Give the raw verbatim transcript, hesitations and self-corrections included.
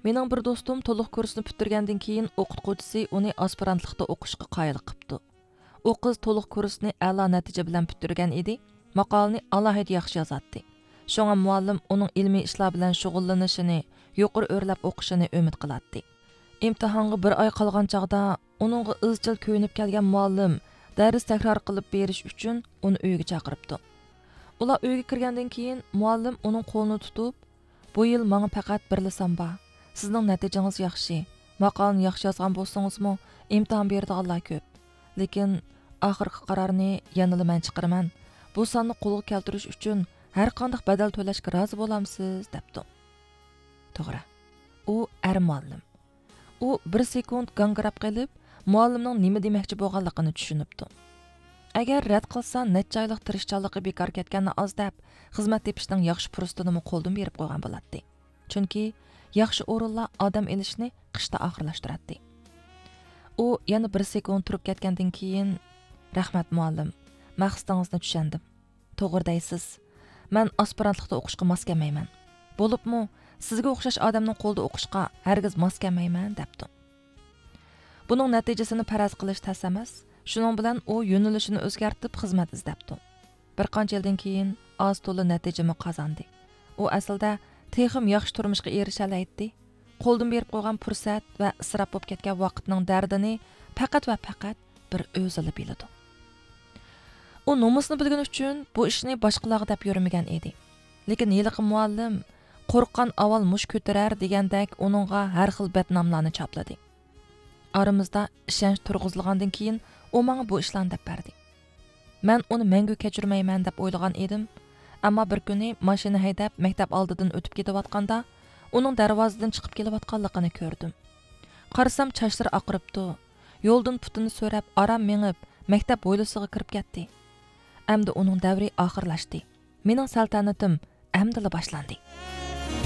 مېنىڭ بىر دوستۇم تولۇق كۇرسنى پۈتتۈرگەندىن كېيىن، ئوقۇتقۇچىسى ئۇنى ئاسپىرانتلىقتا ئوقۇشقا قايىل قىپتۇ. ئۇ قىز تولۇق كۇرسنى ئەلا نەتىجە بىلەن پۈتتۈرگەن ئىدى، ماقالىنى ئالاھىدە ياخشى يازاتتى. شۇڭا مۇئەللىم ئۇنىڭ ئىلمىي ئىشلار بىلەن شۇغۇللىنىشىنى، يۇقىرى ئۆرلەپ ئوقۇشىنى ئۈمىد قىلاتتى. ئىمتىھانغا بىر ئاي قالغان چاغدا ئۇنىڭغا ئىزچىل كۆيۈنۈپ كەلگەن مۇئەللىم دەرس تەكرار قىلىپ بېرىش ئۈچۈن ئۇنى ئۆيىگە چاقىرىپتۇ. ئۇلار ئۆيگە كىرگەندىن كېيىن، مۇئەللىم ئۇنىڭ قولىنى تۇتۇپ، «بۇ يىل ماڭا پەقەت بىرلا سان بار. سىزنىڭ نەتىجىڭىز ياخشى. ماقالىنى ياخشى يازغان بولسىڭىزمۇ، ئىمتىھان بېرىدىغانلار كۆپ. لېكىن ئاخىرقى قارارنى يەنىلا مەن چىقىرىمەن. بۇ ساننى قولغا كەلتۈرۈش ئۈچۈن ھەرقانداق بەدەل تۆلەشكە رازى بولامسىز؟» دەپتۇ. توغرا، ئۇ ئەر مۇئەللىم. ئۇ بىر سېكۇنت گاڭگىراپ قېلىپ، مۇئەللىمنىڭ نېمە دېمەكچى بولغانلىقىنى چۈشىنىپتۇ. ئەگەر رەت قىلسا، نەچچە ئايلىق تىرىشچانلىقى بىكار كەتكەننى ئاز دەپ، خىزمەت تېپىشنىڭ ياخشى پۇرسىتىنىمۇ قولدىن بېرىپ قويغان بولاتتى. چۈنكى ياخشى ئورۇنلار ئادەم ئېلىشنى قىشتا ئاخىرلاشتۇراتتى. ئۇ يەنە بىر سېكۇنت تۇرۇپ كەتكەندىن كېيىن، «رەھمەت، مۇئەللىم. مەقسىتىڭىزنى چۈشەندىم. توغرا دەيسىز. مەن ئاسپىرانتلىقتا ئوقۇشقا ماس كەلمەيمەن. بولۇپمۇ سىزگە ئوخشاش ئادەمنىڭ قولىدا ئوقۇشقا ھەرگىز ماس كەلمەيمەن» دەپتۇ. بۇنىڭ نەتىجىسىنى پەرەز قىلىش تەس ئەمەس. شۇنىڭ بىلەن ئۇ يۆنىلىشىنى ئۆزگەرتىپ خىزمەت ئىزدەپتۇ. بىر قانچە يىلدىن كېيىن ئاز تولا نەتىجىمۇ قازاندى. ئۇ ئەسلىدە تېخىمۇ ياخشى تۇرمۇشقا ئېرىشەلەيتتى. قولدىن بېرىپ قويغان پۇرسەت ۋە ئىسراپ بولۇپ كەتكەن ۋاقىتنىڭ دەردىنى پەقەت ۋە پەقەت بىر ئۆزىلا بىلىدۇ. ئۇ نومۇسنى بىلگىنى ئۈچۈن بۇ ئىشنى باشقىلارغا دەپ يۈرمىگەن ئىدى. لېكىن ھېلىقى مۇئەللىم «قورققان ئاۋۋال مۇش كۆتۈرەر» دېگەندەك ئۇنىڭغا ھەر خىل بەتناملارنى چاپلىدى. ئارىمىزدا ئىشەنچ تۇرغۇزۇلغاندىن كېيىن ئۇ ماڭا بۇ ئىشلارنى دەپ بەردى. مەن ئۇنى مەڭگۈ كەچۈرمەيمەن دەپ ئويلىغان ئىدىم. ئەمما بىر كۈنى ماشىنا ھەيدەپ مەكتەپ ئالدىدىن ئۆتۈپ كېتىۋاتقاندا، ئۇنىڭ دەرۋازىدىن چىقىپ كېلىۋاتقانلىقىنى كۆردۈم. قارىسام، چاچلىرى ئاقىرىپتۇ. يولدىن پۇتىنى سۆرەپ، ئاران مېڭىپ، مەكتەپ ھويلىسىغا كىرىپ كەتتى. ئەمدى ئۇنىڭ دەۋرى ئاخىرلاشتى. مېنىڭ سەلتەنىتىم ئەمدىلا باشلاندى.